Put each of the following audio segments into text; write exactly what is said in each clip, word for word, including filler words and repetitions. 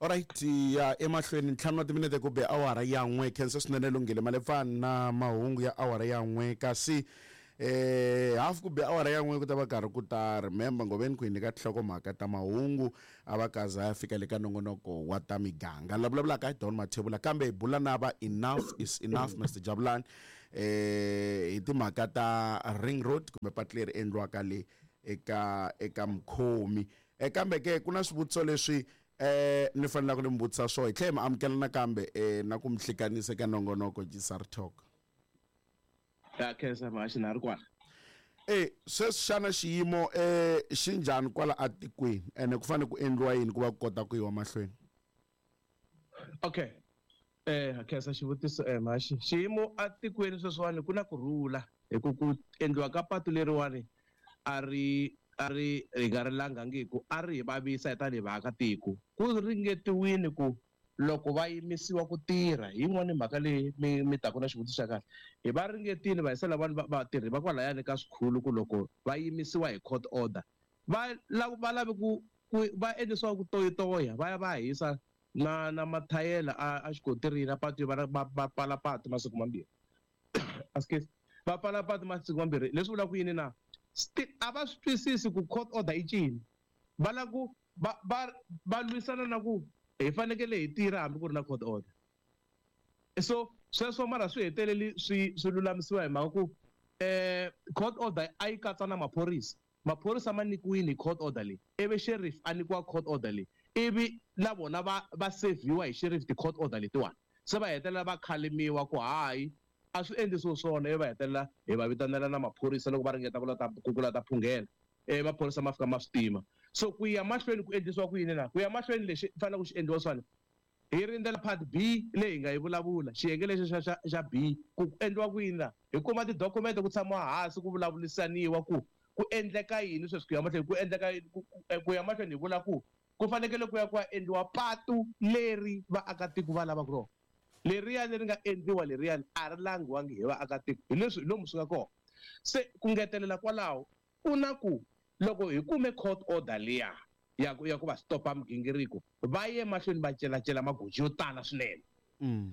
Alright, ya emahlweni ntlhanu wa timinete ku be awara ya n'we. Khensa swinene Lunghile Malefani na mahungu ya awara ya n'we. Kasi eh half ku be awara ya n'we ku ta va karhi ku ta remember ngoveni ku hi nyika tinhlokomhaka ta mahungu a va kaza ya fika le ka nongonoko wa ta miganga. La vulavulaka hi Don Mathebula, kambe hi bula na va Enough is Enough Mister Jabulani eh hi timhaka ta Ring Road kumbe patu leri endliwaka le eka eka Mkhomi. Eh kambe ke ku na swivutiso leswi eh ni fanele ku ni mi vutisa swona hi tlhela hi mi amukela nakambe eh na ku mi hlekanisa eka nongonoko G S R Talk. Ya khensa Mhaxi, na ri kwala. Eh sweswi xana xiyimo eh xi njhani kwala atikweni, ene ku fanele ku endliwa yini ku va ku kota ku yiwa mahlweni? Okay, eh khensa xivutiso eh Mhaxi. Xiyimo atikweni sweswiwani ku na kurhula hi ku ku endliwa ka patu leriwani a ri a ri hi nga ri langhangiku, a ri hi vavisa hi tanihi vaakatiko. Ku ringetiwile ku loko va yimisiwa ku tirha hi yin'wani mhaka leyi mi mi taku na xivutiso xa kahle, hi va ringetile va yisa lavani vatirhi va kwalayani ka swikhulu ku loko va yimisiwa hi court order va va lave ku ku va endlisiwa ku toyitoya, va ya va hisa na na mathayela a a xikotirini a patu, va va va pfala patu masiku mambirhi, excuse, va pfala patu masiku mambirhi. Leswi vulaka yini na a va swi twisisi ku court order i ncini. Va lava ku va va va lwisana na ku hi fanekele hi tirha hambi ku ri na court order. So sweswo mara swi heteleli swi swi lulamisiwa hi mhaka ku eh court order a yi katsa na maphorisa. Maphorisa ma nyikiwile hi court order leyi, ivi sheriff a nyikiwa court order leyi, ivi na vona va va sevhiwa hi sheriff ti-court order letiwani. Se va hetelela va khalimiwa ku hayi, a swi endlisiwi swona, ivi va hetelela hi va vitanela na maphorisa loko va ringeta ku la ta ku la ta phunghela, ivi maphorisa ma fika ma swi tima. So ku ya mahlweni ku endlisiwa ku yini na ku ya mahlweni lexi faneleke ku xi endliwa swona, hi rindzela part B leyi hi nga yi vulavula, xiyenge lexi xa xa xa B, ku endliwa ku yini na hi kuma tidokumente, ku tshamiwa hansi ku vulavurisaniwa ku ku endleka yini sweswi ku ya mahlweni, ku endleka ku ya mahlweni. Hi vula ku ku fanekele ku ya ku ya endliwa patu leri vaakatiko va lavaka rona. Leriyani ri nga endliwa leriyani a ri langiwangi hi vaakatiko, hi leswi hi lomu swi nga kona. Se ku ngetelela kwalaho, ku na ku loko hi kume court order liya ya ku ya ku va stopa migingiriko, va ye mahlweni va celacela magoji yo tala swinene.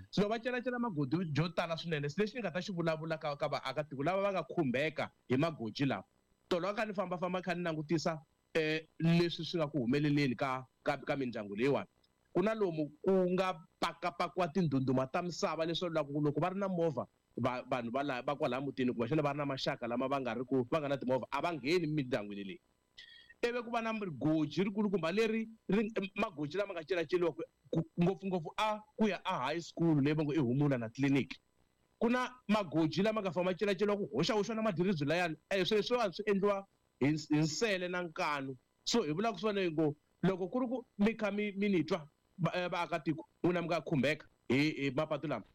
So loko va celacela magoji yo tala swinene, se lexi ni nga ta xi vulavula ka ka vaakatiko lava va nga khumbeka hi magoji lawa, tolo a kha ni fambafamba kha ni langutisa eh leswi swi nga ku humeleleni ka ka ka mindyangu leyiwani, ku na lomu ku nga pakapakiwa tindhundhuma ta misava, leswaku loko loko va ri na movha va vanhu va la va kwalaya mutini, kumbexana va ri na maxaka lama va nga ri ku va nga na timovha, a va ngheni mindyangwini leyi. Ivi ku va na goji rikulukumba leri ri magoji lama nga celaceliwa ngopfungopfu a ku ya a high school leyi va ngo i Humula na clinic. Ku na magoji lama nga famba ma celaceliwa ku hoxahoxa na madiribyi layani. eh swilo leswiwani swi endliwa hi hi nsele na nkanu. So hi vulaka swona hi ngo loko ku ri ku mi kha mi mi ni twa vaakatiko n'wina mi nga khumbeka hi hi mapatu lama,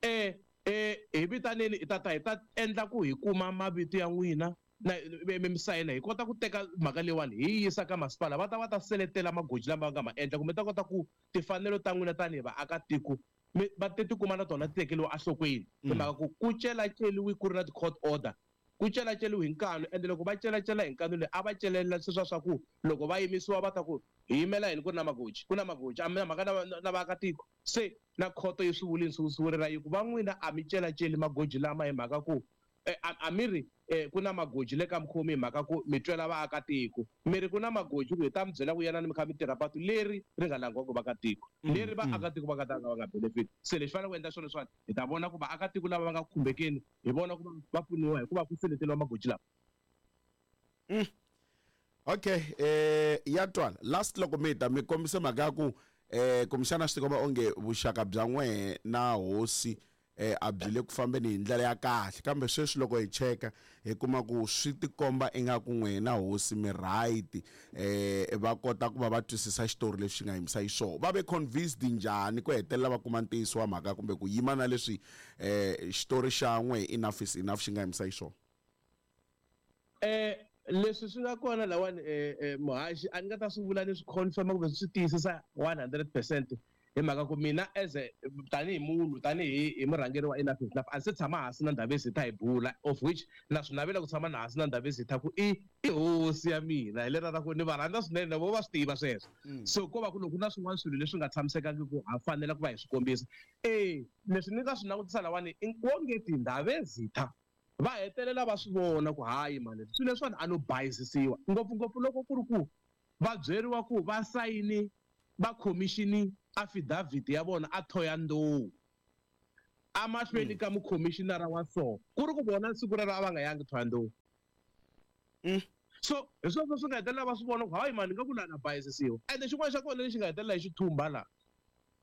eh eh hi vitaneni, hi ta ta hi ta endla ku hi kuma mavito ya n'wina na mi mi sayina, hi kota ku teka mhaka leyiwani hi yi yisa ka masipala, va ta va ta seletela magoji lama va nga ma endla, kumbe ta kota ku timfanelo ta n'wina tanihi vaakatiko mi va ti tikuma na tona ti tekeriwa enhlokweni, hi mhaka ku ku celaceliwi ku ri na ti-court order, ku celaceliwi hi nkanu. Ende loko va celacela hi nkanu leyi, a va celela sweswiya swa ku loko va yimisiwa va ta ku hi yimela yini ku ri na magoji, ku na magoji, a mi na mhaka na na vaakatiko. Se na khoto yi swi vulini swi yi ku va n'wina a mi celaceli magoji lama hi mhaka ku a mi ri ku na magoji le ka Mkhomi hi mhaka ku mi twela vaakatiko, mi ri ku na magoji ku hi ta mi byela ku yanani mi kha mi tirha patu leri ri nga langiwaka vaakatiko, leri vaakatiko va nga ta ka va nga benefit. Se lexi fanele ku endla swona leswiwani, hi ta vona ku vaakatiko lava va nga khumbekeni hi vona ku va pfuniwa hikuva ku seleteliwa magoji lama. Okay, eh ya twala. Last loko mi ta mi kombise mhaka ya ku eh kumbexana swi tikomba onge vuxaka bya n'wehe na hosi eh a byi le ku fambeni hi ndlela ya kahle, kambe sweswi loko hi cheka hi kuma ku swi tikomba ingaku n'wehe na hosi mi right, eh va kota ku va va twisisa xitori lexi xi nga yimisa xiswona. Va ve convinced njhani ku hetelela va kuma ntiyiso wa mhaka kumbe ku yima na leswi eh xitori xa n'wehe Enough is Enough xi nga yimisa xiswona? Eh leswi swi nga kona lawani, eh muhaxi, a ni nga ta swi vula ni swi confirm kumbe swi tiyisisa one hundred percent. Hi mhaka ku mina as a tanihi munhu tanihi hi murhangeri wa Enough is Enough a se tshama hansi na Ndhavezitha hi bula, of which na swi navela ku tshama na hansi na Ndhavezitha ku i i hosi ya mina hi lera ra ku ni va rhandza swinene na vo va swi tiva sweswo. So ko va ku loko ku na swin'wana swilo leswi nga tshamisekangi ku ha fanela ku va hi swi kombisa. E leswi ni nga swi langutisa lawani wonge ti Ndhavezitha va hetelela va swi vona ku hayi mani swilo leswiwani a no bayizisiwa ngopfungopfu loko ku ri ku va byeriwa ku va sayini va commissioni affidavit ya vona a Thohoyandou amahlweni ka mukhomishinara wa so ku ri ku vona siku rero a va nga yangi Thohoyandou. So hi sweswo swi nga hetelela va swi vona ku hayi mani nga ku laha na bayizisiwa. Ende xin'wana xa kona lexi nga hetelela hi xithumba laha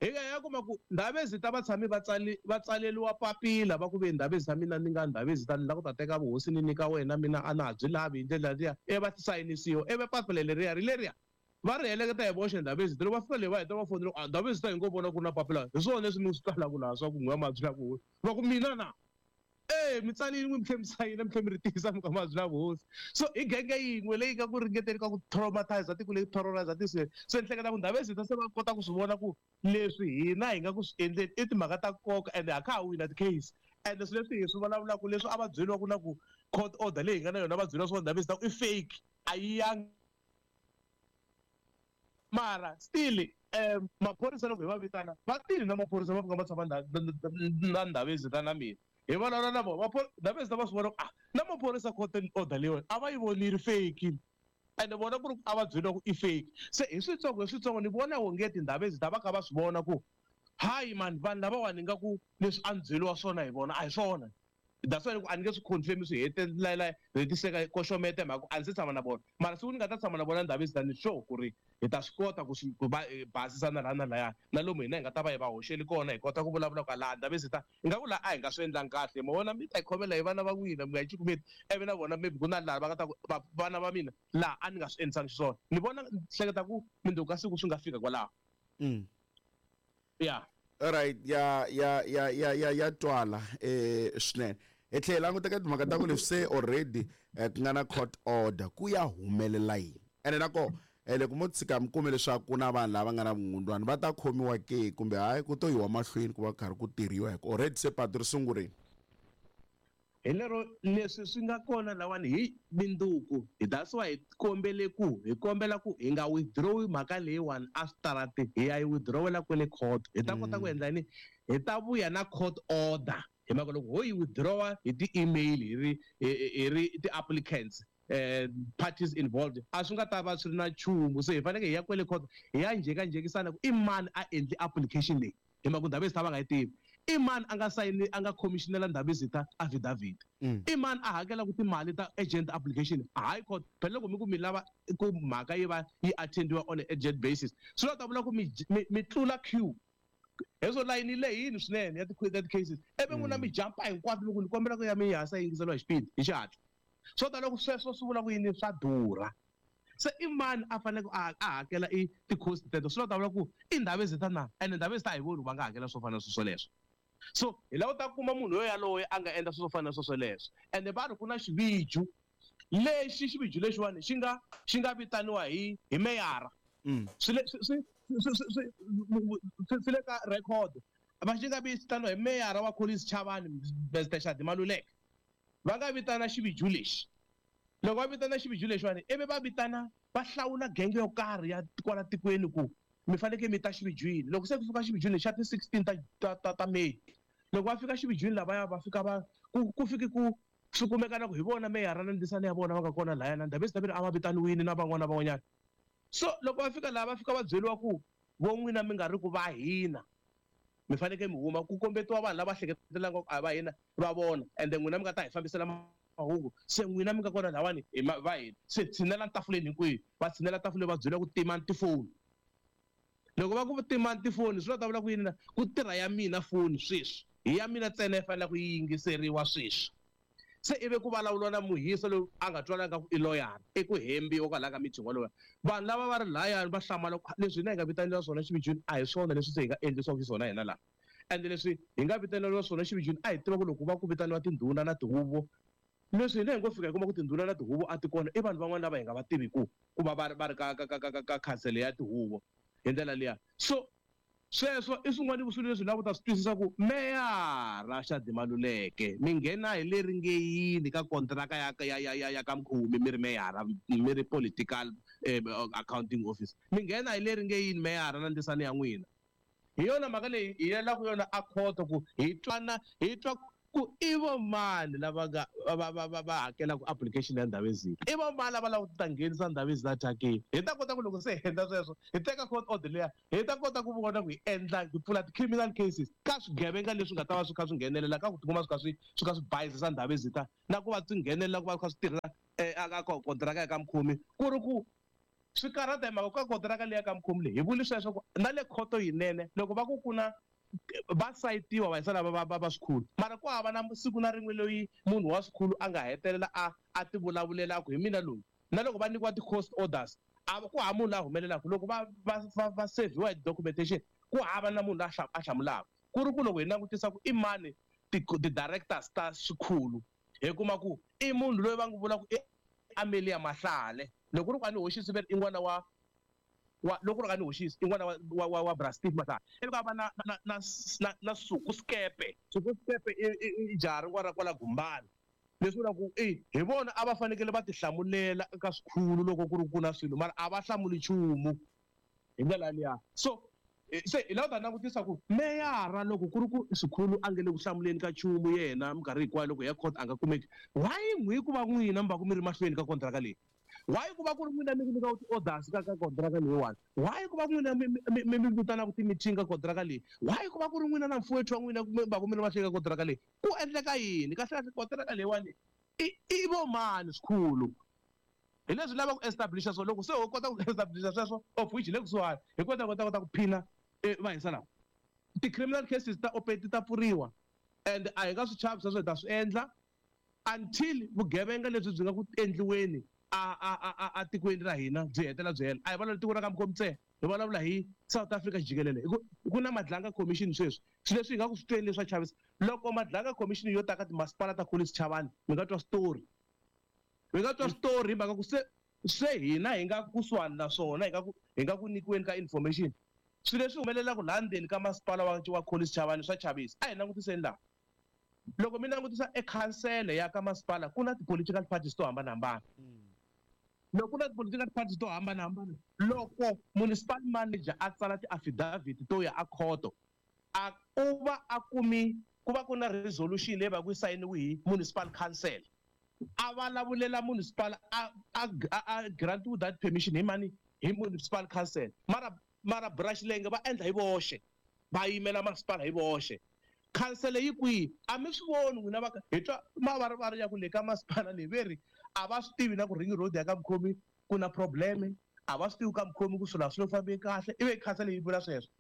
hi nga ya kuma ku Ndhavezitha va tshame va tsali va tsaleriwa papila va ku ve Ndhavezitha mina ni nga Ndhavezitha ni lava ku ta teka vuhosi ni nyika wena mina a na ha byi lavi hi ndlela liya ivi va sayinisiwa ivi papila leriya ri leriya va ri heleketa hi voxe Ndhavezitha. Loko va fika le va heta va fonela a Ndhavezitha hi ngo vona ku ri na papila hi swona leswi mi swi twalaka laha swa ku n'wi ma byi la ku va ku mina na e mi tsalini n'wi mi tlhe mi sayina mi tlhe mi ri tiyisa mi ka ma byi la vuhosi. So i genge yin'we leyi nga ku ringeteni ka ku traumatize tiko leyi terrorize tiko leri. Se ni hleketa ku Ndhavezitha se va kota ku swi vona ku leswi hina hi nga ku swi endleni i timhaka ta nkoka ende ha kha ha wina ti-case. Ende swilo leswi hi swi vulavulaka leswi a va byeriwa ku na ku court order leyi hi nga na yona va byeriwa swa Ndhavezitha ku i fake a yi yangi. Mara still um maphorisa loko hi va vitana va tile na maphorisa va fika va tshama na Ndhavezitha na mina hi vulavula na vona Ndhavezitha va swi vona ku ah na maphorisa court order leyiwani a va yi vonile fake ende vona ku ri a va byeriwa ku i fake. Se hi switsongo hi switsongo ni vona onge Tindhavezitha va kha va swi vona ku hayi mani vanhu lavawani nga ku leswi a ni byeriwa swona hi vona a hi swona. That's why a ni nge swi confirm swi hetelela hetiseka koxomete mhaka a ndzi se tshama na vona. Mara siku ni nga ta tshama na vona Ndhavezitha ni sure ku ri hi ta swi kota ku swi ku va basisa na laha na lahaya na lomu hina hi nga ta va hi va hoxeli kona hi kota ku vulavula ku laha Ndhavezitha hi nga ku laha a hi nga swi endlangi kahle ma vona mi ta hi khomela hi vana va n'wina mi nga hi cukumeti ivi na vona maybe ku na laha va nga ta ku vana va mina laha a ni nga swi endlisangi xiswona. Ni vona ni hleketa ku mundzuku ka siku swi nga fika kwalaho. Yeah. All right, ya ya ya ya ya ya twala eh swinene. Hi tlhela languta ka timhaka ta ku leswi se already ku nga na court order ku ya humelela yini. Ene na ko loko mo tshika mi kume leswaku ku na vanhu lava nga na vungundwani va ta khomiwa ke kumbe hayi ku to yiwa mahlweni ku va karhi ku tirhiwa hi ku already se patu ri sungurile. Hi lero leswi swi nga kona lawani hi minduku that's why hi kombele ku hi kombela ku hi nga withdraw mhaka leyiwani a switarati hi ya yi withdrawela kwele court hi ta kota ku endla yini hi ta vuya na court order hi mhaka loko ho yi withdrawa hi ti-email hi ri hi ri ti-applicants eh parties involved a swi nga ta va swi ri na nchumu. Se hi fanekele hi ya kwele court hi ya njhekanjhekisana ku i mani a endli application leyi hi mhaka ku Ndhavezitha va nga yi tivi. I mani a nga sayini a nga commissionela Ndhavezitha affidavit. I mani a hakelaka timali ta agent application high court phela loko mi ku mi lava ku mhaka yi va yi attendiwa on an urgent basis swi ta vula ku mi mi tlula queue heswo layini lehini swinene ya ti-cases ivi n'wina mi jumpa hinkwato loko ni kombela ku ya mi hasa yingiseriwa hi xipidi hi xihatla. Swo ta loko sweswo swi vula ku yini swa durha. Se i mani a faneleke a hakela i ti-cost teto swi ta vula ku i Ndhavezitha na ende Ndhavezitha a hi voni ku va nga hakela swo fana na sweswo leswo. So hi lava ta kuma munhu yo yaloye a nga endla swilo swo fana na sweswo leswo. Ende va ri ku na xiviju lexi xiviju lexiwani xi nga xi nga vitaniwa hi hi meyara. Swi le swi swi swi swi le ka record va xi nga vitaniwa hi meyara wa Collins Chabane Mister Shadi Maluleke. Va nga vitana xiviju lexi. Loko va vitana xiviju lexiwani ivi va vitana va hlawula genge yo karhi ya kwala tikweni ku mi fanekele mi ta xivijwini. Loko se ku fika xivijwini xa ti sixteen ta ta ta, ta May loko va fika xivijwini lavaya va fika va ku ku fiki ku swi kumeka na ku hi vona meyara na ndisana ya vona va nga kona lahaya na Ndhavezitha vele a va vitaniwile na van'wana na van'wanyana. So loko va fika laha va fika va byeriwa ku vo n'wina mi nga ri ku va hina mi fanekele mi huma ku kombetiwa vanhu lava hleketelaka ku a va hina va vona ende n'wina mi nga ta hi fambisela mahungu se n'wina mi nga kona lahawani hi va hina se tshinela tafuleni hinkwenu va tshinela tafuleni va byeriwa ku timani tifoni. Loko va ku timani tifoni swi ta vula ku yini na ku tirha ya mina foni sweswi hi ya mina ntsena yi fanele ku yi yingiseriwa sweswi. Se ivi ku vulavuriwa na muhisa loyi a nga twalanga ku i loyara i ku hembiwa kwalaya ka meeting walowo. Vanhu lava va ri lahayani va hlamala ku leswi hina hi nga vitaniwa swona xivijwini a hi swona leswi se hi nga endlisiwaka xiswona hina laha. Ende leswi hi nga vitaneriwa swona xivijwini a hi tiva ku loko va ku vitaniwa tindhuna na tihuvo leswi hina hi ngo fika hi kuma ku tindhuna na tihuvo a ti kona i vanhu van'wana lava hi nga va tiviku ku va va ri va ri ka ka ka ka ka khansele ya tihuvo hi ndlela liya. So Sweswo i swin'wana swilo leswi lava ku ta swi twisisa ku meyara Shadi Maluleke mi nghena hi leri nge yini ka kontraka ya ya ya ya ya ka Mkhumi mi ri meyara mi ri political eh, accounting office mi nghena hi leri nge yini meyara na ndisani ya n'wina. Hi yona mhaka leyi hi yelaka yona a khoto ku hi twana hi twa ku i vo mani lava nga va va va va hakelaka application ya Ndhavezini, i vo mani lava lava ku ta nghenisa Ndhavezini thyakeni. Hi ta kota ku loko se hi endla sweswo hi teka court order liya hi ta kota ku vona ku hi endla hi pfula ti-criminal cases ka swigevenga leswi nga ta va swi kha swi nghenelela ka ku tikuma swi kha swi swi kha swi bayizisa Ndhavezini na ku va swi nghenelela ku va swi kha swi tirhisa eka kontiraka ya ka Mkhumi ku ri ku swi karhata hi mhaka ka kontiraka leyi ya ka Mkhumi leyi hi vuli sweswo ku na le khoto yinene loko va ku ku na va sayitiwa va yisa lava va va va swikhulu mara ku hava na siku na rin'we loyi munhu wa swikhulu a nga hetelela a a ti vulavulela a ku hi mina loyi na loko va nyikiwa ti-cost orders a ku hava munhu la humelelaka loko va va va va seviwa hi documentation ku hava na munhu la a hlamulaka ku ri ku loko hi langutisa ku i mani ti-directors ta swikhulu hi kuma ku i munhu loyi va n'wi vulaka i Amelia Mahlale loko ri ku a ni hoxisi ve i n'wana wa wa loko ri a ni hoxisi i n'wana wa wa wa Bra Steve Mahlale ivi ka va na na na na na Suku Skepe Suku Skepe i i jaha rin'wana ra kwala Gumbani leswi vulaka ku i hi vona a va fanekele va tihlamulela eka swikhulu loko ku ri ku na swilo mara a va hlamuli nchumu hi ndlela liya. So se hi lava ku ta langutisa ku meyara loko ku ri ku swikhulu a nge le ku hlamuleni ka nchumu yena minkarhi hinkwayo loko hi ya court a nga kumeki why n'wi ku va n'wina mi va ku mi ri mahlweni ka kontraka leyi, why ku va ku ri n'wina mi nyikaka ti-orders ka ka kontraka leyiwani, why ku va n'wina mi mi mi vitanaka ti-meeting ka kontraka leyi, why ku va ku ri n'wina na mfuwethu wa n'wina mi va ku mi ri mahlweni ka kontraka leyi, ku endleka yini kahle kahle kontraka leyiwani i i vo mani swikhulu. Hi leswi lava ku establisha so loko se ho kota ku establisha sweswo of which hi le kusuhani hi kota kota kota ku phina va hisa lawa ti-criminal cases ta open ti ta pfuriwa and a hi nga swi chavi sweswo hi ta swi endla until vugevenga lebyi byi nga ku endliweni a a a a tikweni ra hina byi hetelela byi hela. A hi vulavula tiko ra ka Mkhomtse, hi vulavula hi South Africa jikelele. Ku na Madlanga Commission sweswi swilo leswi hi nga ku swi tweni leswi swa chavisa loko Madlanga Commission yo ta ka timasipala ta Collins Chavani mi nga twa story mi nga twa story hi mhaka ku se se hina hi nga kusuhani na swona hi nga ku hi nga ku nyikiweni ka information swilo leswi humelelaka laha ndzeni ka masipala wa wa Collins Chavani swa chavisa. A hi langutiseni laha loko mi langutisa ekhansele ya ka masipala ku na ti-political parties to hambanahambana loko ku na ti-political parties to hambanahambana loko municipal manager a tsala ti-affidavit to ya a khoto a u va a kumi ku va ku na resolution leyi va ku yi sayiniwe hi municipal council a vulavulela municipal a a a grant that permission hi mani hi municipal council mara mara brush lenge va endla hi voxe va yimela masipala hi voxe council yi kwihi a mi swi voni n'wina va hi twa mavarivari ya ku le ka masipala leyi ve ri a va swi tivi na ku ring road ya ka Mkhomi ku na probleme a va swi tivi ka Mkhomi ku swilo a swi le fambeni kahle ivi council yi vula sweswo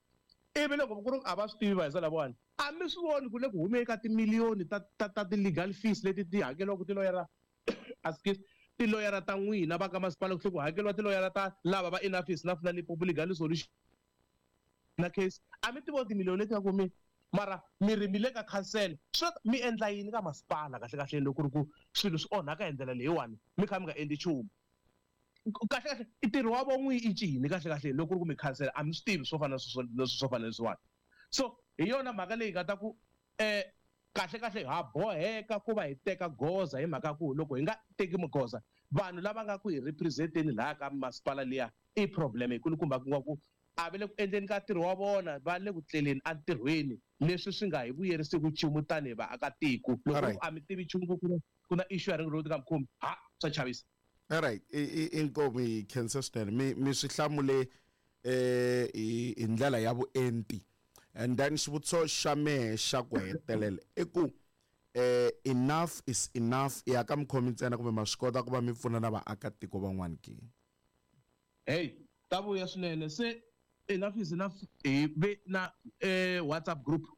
ivi loko ku ri a va swi tivi va hisa lavawani a mi swi voni ku le ku humeni ka timiliyoni ta ta ta ti-legal fees leti ti hakeliwaka tiloyara excuse tiloyara ta n'wina va ka masipala ku tlhela ku hakeriwa tiloyara ta lava va Enough is Enough na Limpopo Legal Solution na case a mi ti voni timiliyoni leti nga kumeni mara mi ri mi le ka council swi mi endla yini ka masipala kahle kahle loko ku ri ku swilo swi onhaka hi ndlela leyiwani mi kha mi nga endli nchumu kahle kahle i ntirho wa vo n'wi i ncini kahle kahle loko ku ri ku mi council a mi swi tivi swo fana na swo fana leswiwani. So hi yona mhaka leyi nga ta ku um kahle kahle ha boheka ku va hi teka goza hi mhaka ku loko hi nga teki magoza vanhu lava nga ku hi representeni laha ka masipala liya i problem yikulukumba ku nga ku a va le ku endleni ka ntirho wa vona va le ku tleleni entirhweni leswi swi nga hi vuyerisiki nchumu tanihi vaakatiko loko a mi tivi nchumu ku ku na issue ya ring road ka Mkhomi ha swa chavisa. Alright, inkomu hi khensa swinene mi mi swi hlamule eh hi ndlela ya vuenti and then xivutiso xa mehe xa ku hetelela i ku eh enough is enough ya ka Mkhomi ntsena kumbe ma swi kota ku va mi pfuna na vaakatiko van'wana ke? Hey, ta vuya swinene se enough is enough hi ve na eh WhatsApp group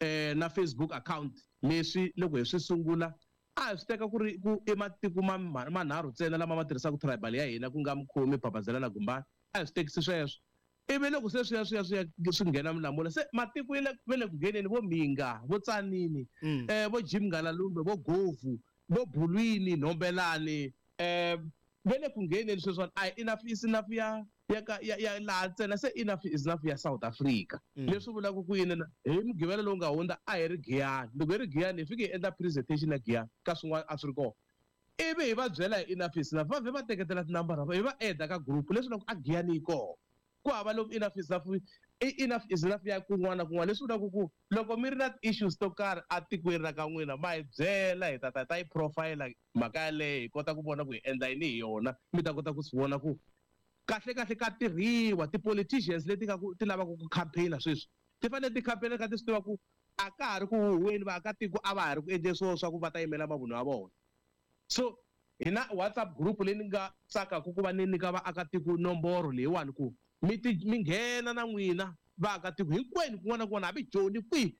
eh na Facebook account leswi loko hi swi sungula a hi swi teka ku ri ku i matiko manharhu ntsena lama ma tirhisaka tribal ya hina ku nga Mkhomi Babazela na Gumbani a hi swi tekisi sweswo ivi loko se swi ya swi ya swi ya swi nghena milamula se matiko ya le le ku ngheneni vo Mhinga vo Tsanini eh vo Jim Ngalalumbe vo Govu vo Bulwini Nhombelani eh Ve le ku ngheneni sweswiwani a hi enough is enough ya ya ka ya ya laha ntsena se enough is enough ya South Africa. Leswi vulaka ku yini na hi Mugqivela lowu nga hundza a hi ri Giyani. Loko hi ri Giyani hi fike hi endla presentation ya Giyani ka swin'wana a swi ri kona. Ivi hi va byela hi enough is enough va vhe va teketela tinambara hi va add ka group leswi vulaka ku a Giyani yi kona. Ku hava lomu enough is enough i enough is enough ya kun'wana na kun'wana leswi vulaka ku loko mi ri na issues to karhi atikweni ra ka n'wina ma hi byela hi ta ta ta yi profile mhaka yaleyo hi kota ku vona ku hi endla yini hi yona mi ta kota ku swi vona ku kahle kahle ka tirhiwa ti-politicians leti nga ku ti lavaka ku campaign-a sweswi ti fanele ti campaign-a kha ti swi tiva ku a ka ha ri ku huhweni vaakatiko a va ha ri ku endleni swona swa ku va ta yimela mavunwa ya vona. So hi na WhatsApp group leyi ni nga tsakaka ku va ni nyika vaakatiko nomboro leyiwani ku mi ti mi nghena na n'wina vaakatiko hinkwenu kun'wana na kun'wana hambi Joni kwihi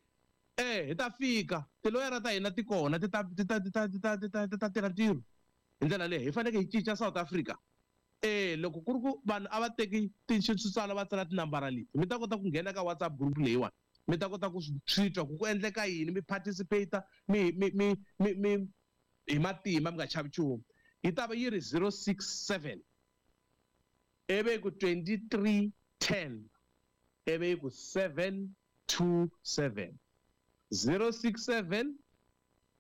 eh hi ta fika tiloyara ta hina ti kona ti ta ti ta ti ta ti ta ti ta ti ta tirha ntirho hi ndlela leyi hi fanekele hi cinca South Africa. Eh loko ku ri ku vanhu a va teki switsala va tsala tinambara leti mi ta kota ku nghena ka WhatsApp group leyiwani mi ta kota ku swi twa ku ku endleka yini mi participate mi mi mi mi mi hi matimba mi nga chavi nchumu. Yi ta va yi ri zero six seven ivi ku twenty-three ten ivi ku seven two seven zero six seven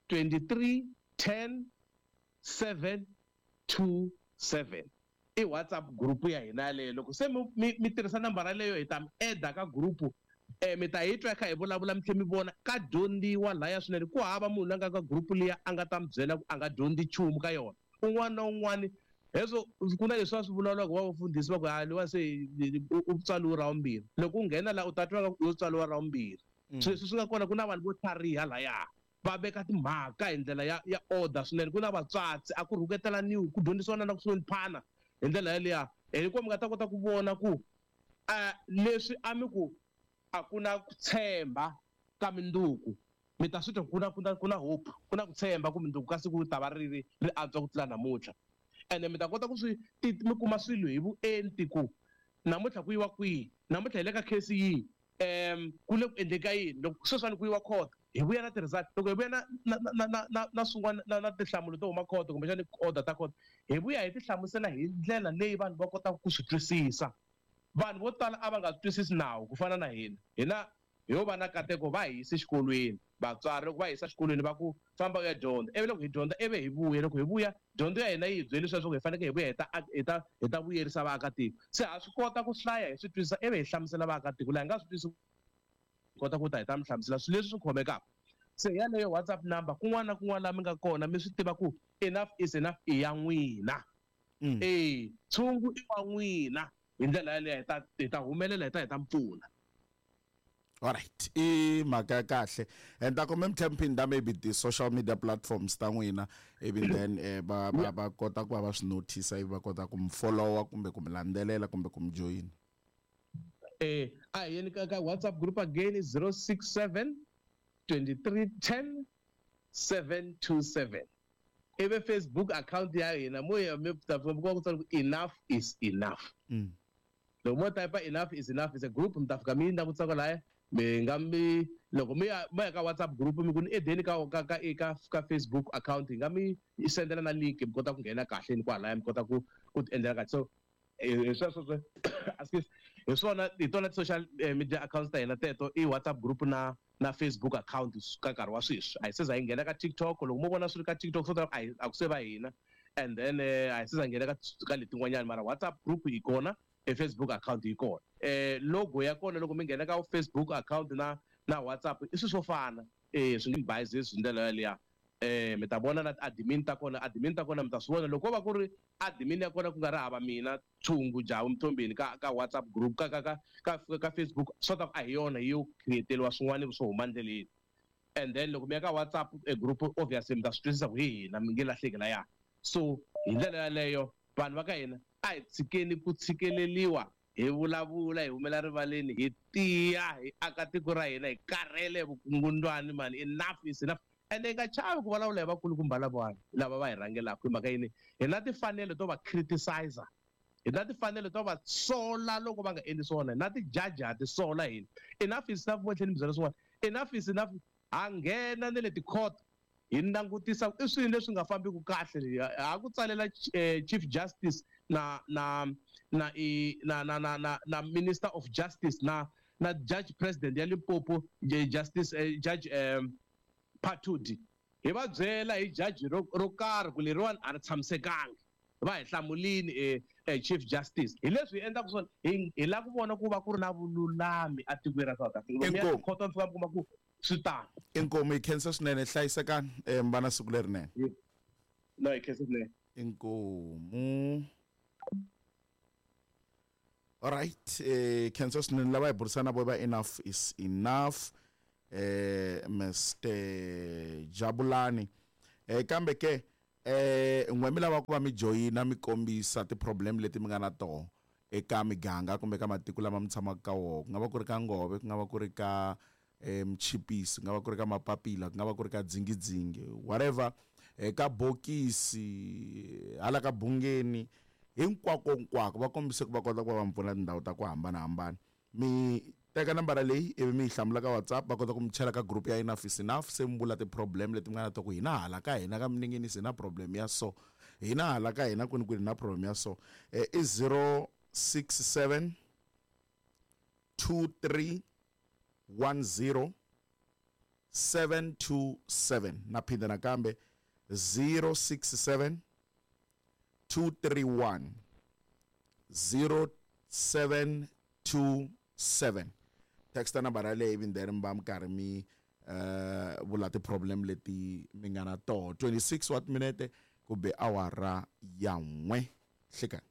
twenty-three ten seven two seven i WhatsApp group ya hina yaleyo. Loko se mi mi mi tirhisa nambara leyo hi ta mi add-a ka group eh mi ta hi twa kha hi vulavula mi tlhela mi vona ka dyondziwa laya swinene ku hava munhu la nga ka group liya a nga ta mi byela ku a nga dyondzi nchumu ka yona un'wana na un'wana heswo ku na leswi va swi vulavulaka va vafundhisi va ku ha liwa se u tswariwe ra vumbirhi loko u nghena laha u ta twa u tswariwa ra vumbirhi sweswi swi nga kona ku na vanhu vo tlhariha laya va veka timhaka hi ndlela ya ya order swinene ku na vatswatsi a ku rhuketelaniwi ku dyondzisiwa na ku hloniphana hi ndlela yaliya hikuva mi nga ta kota ku vona ku leswi a mi ku a ku na ku tshemba ka minduku mi ta swi twa ku na ku na ku na hope ku na ku tshemba ku minduku ka siku ta va ri ri ri antswa ku tlula namuntlha ene mi ta kota ku swi mi kuma swilo hi vuenti ku namuntlha ku yiwa kwihi namuntlha hi le ka case yihi um ku le ku endleka yini loko sweswiwani ku yiwa court hi vuya na ti-result loko hi vuya na na na na na na swin'wana na na tinhlamulo to huma court kumbexana order ta court hi vuya hi ti hlamusela hi ndlela leyi vanhu va kotaka ku swi twisisa. Vanhu vo tala a va nga twisisi nawu ku fana na hina hina hi yo va na kateko va hi yise xikolweni vatswari loko va yisa xikolweni va ku famba u ya dyondza ivi loko hi dyondza ivi hi vuya loko hi vuya dyondzo ya hina yi hi byele leswaku hi fanekele hi vuya hi ta hi ta hi ta vuyerisa vaakatiko se ha swi kota ku hlaya hi swi twisisa ivi hi hlamusela vaakatiko laha hi nga swi twisisi hi kota ku ta hi ta mi hlamusela swilo leswi swi khomekaka se yaleyo WhatsApp number kun'wana na kun'wana laha mi nga kona mi swi tiva ku enough is enough i ya n'wina e tshungu i wa n'wina hi ndlela yaleyo hi ta hi ta humelela hi ta hi ta mi pfuna. Alright, i mhaka ya kahle and ta kumbe mi tlhela mi phinda maybe ti-social media platforms ta n'wina ivi then eh, va va va kota ku va va swi notice ivi va kota ku mi followa kumbe ku mi landzelela kumbe ku mi joyina. Eh a hi yeni ka ka WhatsApp group again is zero six seven twenty-three ten seven two seven ivi Facebook account ya hina mo ya mi ta fika ku tsala ku enough is enough. Loko mo type enough is enough is a group mi ta fika mi langutisa kwalaya mi nga mi loko mi ya mi ya ka WhatsApp group mi ku ni edeni ka ka ka ka ka Facebook account hi nga mi sendela na link mi kota ku nghena kahle ni kwalaya mi kota ku ku ti endlela kahle so hi sweswo excuse hi swona hi tona ti-social media accounts ta hina teto i WhatsApp group na na Facebook account ka nkarhi wa sweswi a hi se za hi nghena ka TikTok loko mo vona swi ri ka TikTok swo tala a hi a ku se va hina and then a hi se za nghena ka ka letin'wanyana mara WhatsApp group yi kona e Facebook account yi kona eh logo ya kona loko mi nghena ka Facebook account na na WhatsApp i swilo swo fana eh swi nge biases hi ndlela yaliya eh mi ta vona na admin ta kona admin ta kona mi ta swi vona loko ko va ku ri admin ya kona ku nga ri hava mina Tshungu Javu Mthombeni ka ka WhatsApp group ka ka ka ka ka Facebook swo ta ku a hi yona yi yo create-eriwa swin'wana swo huma ndleleni and then loko mi ya ka WhatsApp e group obviously mi ta swi twisisa ku hi hina mi nge lahleki laya so hi ndlela yaleyo vanhu va ka hina a hi tshikeni ku tshikeleliwa hi vulavula hi humela rivaleni hi tiya hi aka tiko ra hina hi karhele vukungundwani mani enough is enough ende hi nga chavi ku vulavula hi vakulukumba lavawani lava va hi rhangelaka hi mhaka yini hi na timfanelo to va criticizer hi na timfanelo to va sola loko va nga endli swona hi na ti-judge ha ti sola hina enough is enough mo tlhela ni byela swin'wana enough is enough ha nghena na le ti-court hi langutisa i swilo leswi nga fambiki kahle ha ku tsalela Chief Justice na na na i na na na na na Minister of Justice na na Judge President ya Limpopo Justice eh, Judge um, Phatudi hi va byela hi judge ro ro karhi ku leriwani a ri tshamisekanga va hi hlamulini eh, eh, Chief Justice hi leswi hi endlaka swona hi hi lava ku vona ku va ku ri na vululami etikweni ra South Africa lomu ya Inkomu. tikhoto mi fika mi kuma ku swi tano Inkomu hi khensa swinene hlayisekani eh, mi va na siku lerinene no hi khensa swinene inkomu alright eh khensa swinene lava hi burisana vo va enough is enough eh Mr Jabulani eh kambe ke eh n'we mi lava ku va mi joyina mi kombisa ti-problem leti mi nga na toho eka miganga kumbe ka matiko lama mi tshamaka ka wona ku nga va ku ri ka ngove ku nga va ku ri ka eh mchipisi ku nga va ku ri ka mapapila ku nga va ku ri ka dzingidzingi whatever eka bokisi hala ka bungeni hinkwako hinkwako va kombise ku va kota ku va va mi pfuna tindhawu ta ku hambanahambana mi teka nambara leyi ivi mi yi hlamula ka whatsapp va kota ku mi chela ka group ya enough is enough se mi vula ti-problem leti mi nga na to ku hina hala ka hina ka minengenisi hi na problem ya so hina hala ka hina kwini kwini hi na problem ya so eh, i zero six seven two three one zero seven two seven na phinda nakambe zero six seven two three one zero seven two seven texta nambara yaleyo ivi then mi va mi karhi mi eh vula ti-problem leti mi nga na toho twenty-six wa timinete kumbe awara ya n'we hlekani.